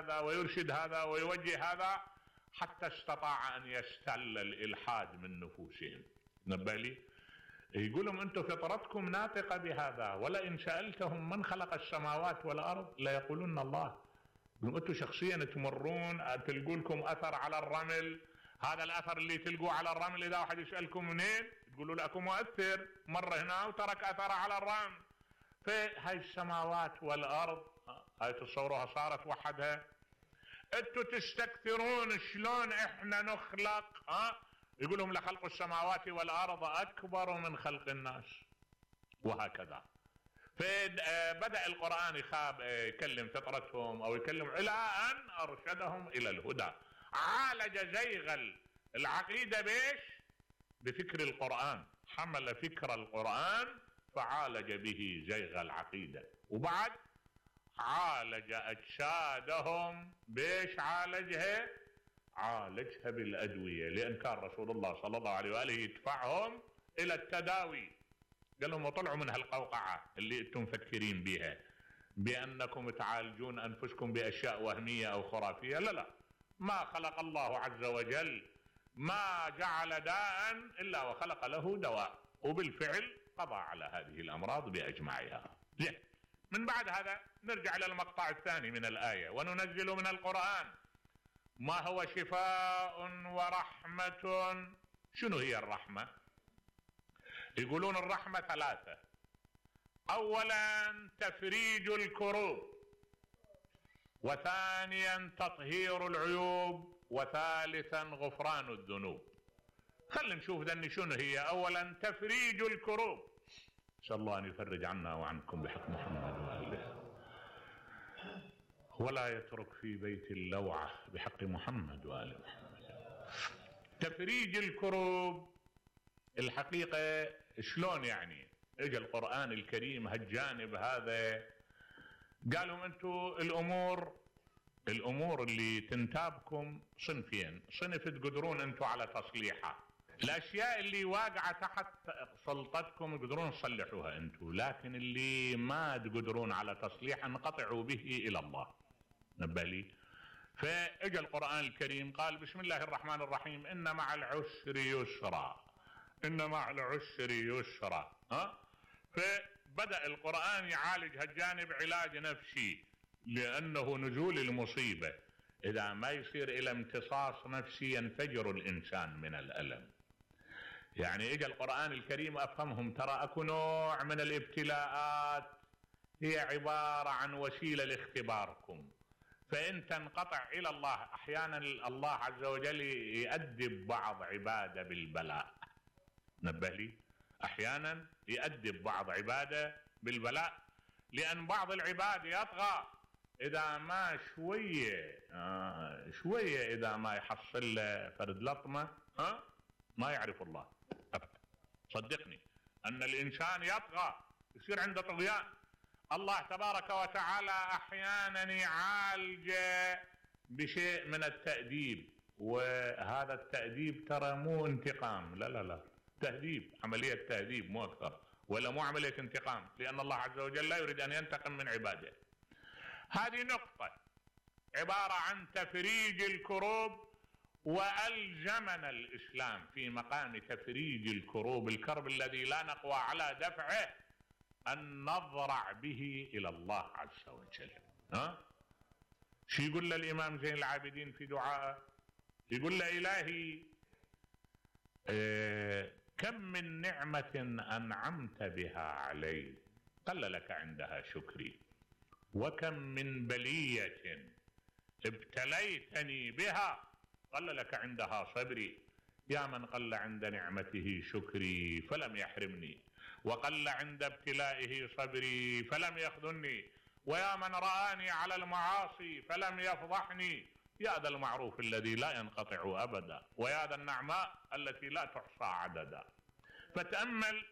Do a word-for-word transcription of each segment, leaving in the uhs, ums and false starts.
هذا ويرشد هذا ويوجه هذا، حتى استطاع أن يستل الإلحاد من نفوسهم. نبه لي يقول لهم أنتم فطرتكم ناطقة بهذا، ولئن سألتهم من خلق السماوات والأرض ليقولون الله. أنتم شخصيا تمرون تلقوا لكم أثر على الرمل، هذا الأثر اللي تلقوه على الرمل إذا واحد يسألكم منين تقولوا لكم مؤثر، مر هنا وترك أثر على الرمل. فهاي السماوات والأرض هاي تصوروها صارت وحدها. أنتم تستكثرون شلون إحنا نخلق، ها يقول لهم لخلق السماوات والأرض أكبر من خلق الناس، وهكذا. فبدأ القرآن يخاب يكلم فطرتهم أو يكلم إلى أن أرشدهم إلى الهدى. عالج زيغ العقيدة بيش؟ بفكر القرآن، حمل فكر القرآن فعالج به زيغ العقيدة. وبعد عالج أجسادهم بيش؟ عالجها عالجها بالأدوية، لأن كان رسول الله صلى الله عليه وآله يدفعهم إلى التداوي. قال لهم وطلعوا من هالقوقعة اللي انتم مفكرين بها بأنكم تعالجون أنفسكم بأشياء وهمية أو خرافية. لا لا، ما خلق الله عز وجل ما جعل داء إلا وخلق له دواء، وبالفعل قضى على هذه الأمراض بأجمعها. زين، من بعد هذا نرجع إلى المقطع الثاني من الآية: وننزل من القرآن ما هو شفاء ورحمة. شنو هي الرحمة؟ يقولون الرحمة ثلاثة: أولا تفريج الكروب، وثانيا تطهير العيوب، وثالثا غفران الذنوب. خلينا نشوف ذني شنو هي. أولا تفريج الكروب، نسأل الله أن يفرج عنا وعنكم بحق محمد وآله، ولا يترك في بيت اللوعة بحق محمد وآل محمد. تفريج الكروب الحقيقة شلون يعني؟ اجى القرآن الكريم هالجانب هذا قالوا انتو الامور الامور اللي تنتابكم صنفين: صنف تقدرون انتو على تصليحها، الاشياء اللي واقعة تحت سلطتكم تقدرون تصلحوها انتو، لكن اللي ما تقدرون على تصليحها انقطعوا به الى الله. نبه لي. فاجى القرآن الكريم قال: بسم الله الرحمن الرحيم، ان مع العسر يسرا، ان مع العسر يسرا. ها؟ فبدأ القرآن يعالج هالجانب علاج نفسي، لأنه نزول المصيبة إذا ما يصير إلى امتصاص نفسي ينفجر الإنسان من الألم. يعني إجا القرآن الكريم أفهمهم: ترى أكو نوع من الابتلاءات هي عبارة عن وسيلة لاختباركم، فإن تنقطع إلى الله أحيانا الله عز وجل يؤدب بعض عباده بالبلاء. نبه لي، أحيانا يؤدب بعض عباده بالبلاء، لأن بعض العباد يطغى إذا ما شوية آه شوية إذا ما يحصل له فرد لطمة ها ما يعرف الله أبدا. صدقني أن الإنسان يطغى، يصير عنده طغيان. الله تبارك وتعالى أحيانا يعالج بشيء من التأديب، وهذا التأديب ترى مو انتقام، لا لا لا، تهذيب، عملية تهذيب مو أكثر، ولا مو عملية انتقام، لأن الله عز وجل لا يريد أن ينتقم من عباده. هذه نقطة عبارة عن تفريج الكروب، وألزمنا الإسلام في مقام تفريج الكروب، الكرب الذي لا نقوى على دفعه، أن نضرع به إلى الله عز وجل. ها؟ شو يقول له الإمام زين العابدين في دعائه؟ يقول له: إلهي إيه كم من نعمة أنعمت بها علي قل لك عندها شكري، وكم من بلية ابتليتني بها قل لك عندها صبري. يا من قل عند نعمته شكري فلم يحرمني، وقل عند ابتلائه صبري فلم يخذلني، ويا من رآني على المعاصي فلم يفضحني. يا ذا المعروف الذي لا ينقطع أبدا، ويا ذا النعماء التي لا تحصى عددا. فتأمل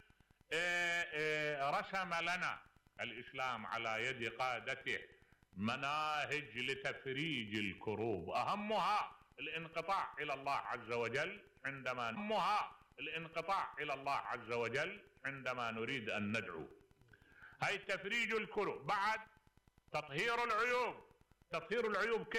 إيه إيه رسم لنا الإسلام على يد قادته مناهج لتفريج الكروب، أهمها الانقطاع إلى الله عز وجل عندما أهمها الانقطاع إلى الله عز وجل عندما نريد أن ندعو. هاي تفريج الكروب. بعد تطهير العيوب. تطهير العيوب كيف؟